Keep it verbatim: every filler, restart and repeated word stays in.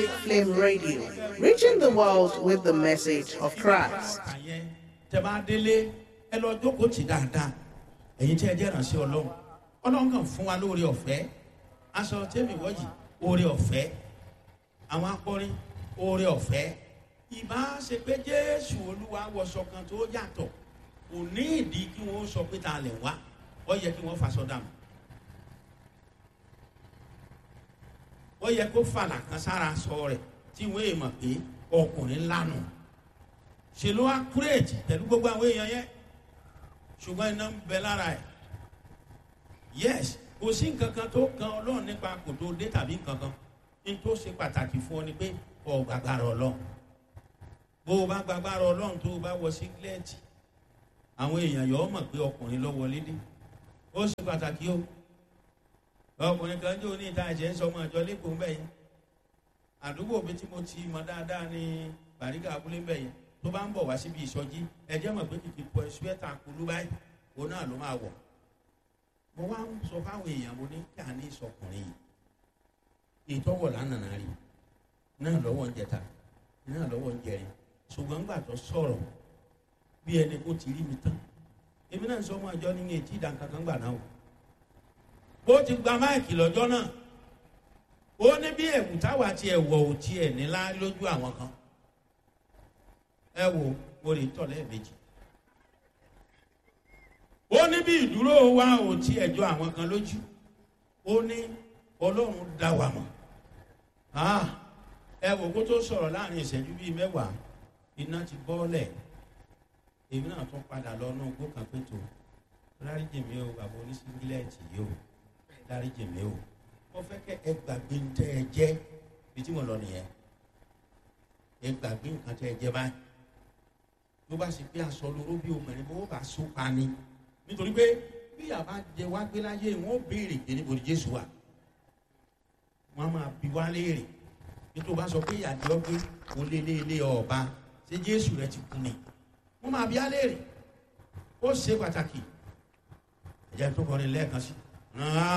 Apostolic Flame Radio, reaching the world with the message of Christ. Àyẹn tẹ bá délé, ẹ lọ jókòó tì dáadáa. Ẹ̀yin tí ẹ jẹ́ ìrànṣẹ́ Ọlọ́run, Ọlọ́run kàn fún wa lóore ọ̀fẹ́ aṣọ tẹ́mi wọ́yì, oore ọ̀fẹ́ àwọn akọrin, oore ọ̀fẹ́. Ìbá ṣe pé Jésù Olúwa wọṣọ kan tó yàtọ̀, kò ní ìdí kí wọ́n sọ pé ta lẹ̀ wá. Ó yẹ kí wọ́n faṣọ dànù, ó yẹ kó fàlà kan sára sọ rẹ̀ tí wọ́n èèmọ̀ pé ọkùnrin lánà ṣe ló wá kúrèjì pẹ̀lú gbogbo àwọn èèyàn yẹn. Ṣùgbọ́n iná ń bẹ lára ẹ̀. Yes, kò sí nǹkan kan tó kan Ọlọ́run nípa kò tó dé tàbí nǹkan kan. Ní tó ṣe pàtàkì fún ọ ni pé ọ gbàgbára Ọlọ́run. Bó o bá gbàgbára Ọlọ́run, tó o bá wọ sígílẹ́ẹ̀tì, àwọn èèyàn yọ ọ mọ̀ pé ọkùnrin ló wọlé dé. Ó ṣe pàtàkì o. Ọkùnrin kan jẹ́ oní ìta ẹ̀jẹ̀ ń sọ ọmọ ìjọ lẹ́kọ̀ọ́ mbẹ́ yẹn. Àdúgbò mi tí mo ti mọ dáadáa ní Bàrígà abúlé mbẹ́ yẹn. Tó bá ń bọ̀ wá síbi ìsọjí, ẹjẹ́ mọ̀ pé kìkì pọ̀ ṣúẹ́tà kulú báyìí òun náà ló máa wọ̀. Mo wá ń sọ fáwọn èèyàn, mo ní kí a ní ìsọkùnrin yìí ìtọ́wọ̀ lánàá rí náà lọ́wọ́ ń jẹta náà lọ́wọ́ ń jẹrin. Ṣùgbọ́n gbà tó sọ̀rọ̀ bí ẹni kó ti rí mi tán, èmi náà sọ ọmọ àjọ ní etí ìdánkankan gbà náà o. Bó ti gba máìkì lọ́jọ́ náà, ó ní bí ẹ̀wù táwa ti ẹ̀wọ̀ ò tiẹ̀ nílá lójú àwọn kan. Ẹ wo, mo lè tọ̀ lẹ́ẹ̀mejì. Ó ní bí ìdúró wa ò tí ẹjọ́ àwọn kan lójú. Ó ní Ọlọ́run dá wa mọ̀. Ẹ wò kó tó sọ̀rọ̀, láàrin ìṣẹ́jú bíi mẹ́wàá, iná ti bọ́ọ̀lẹ̀. Èmi náà tún padà lọ náà gbó kan pé tó dáríjì mi o, bàbá oníṣíngílẹ̀tì yìí o, dáríjì mi o. Mo fẹ́ kẹ́ ẹ gbàgbé ń tẹ́ ẹ jẹ́ bí tí mo lọ nìyẹn. Ẹ gbàgbé nǹkan tẹ́ ẹ jẹ́ báyìí. Ló bá sì pé aṣọ lóró bí obìnrin bó bá so pa ni, nítorí pé bí àbá jẹ wá gbé láyé, wọn ó béèrè pé níbo ni Jésù wà. Wọn máa bi wá léèrè nítorí wọn bá sọ pé ìyàdí ọgbẹ kò lé lé lé ọba ṣé Jésù rẹ ti kú ni. Wọn máa bi á léèrè. Ó ṣe pàtàkì. Ẹ̀jẹ̀ tó kọrin lẹ́ẹ̀kan sí.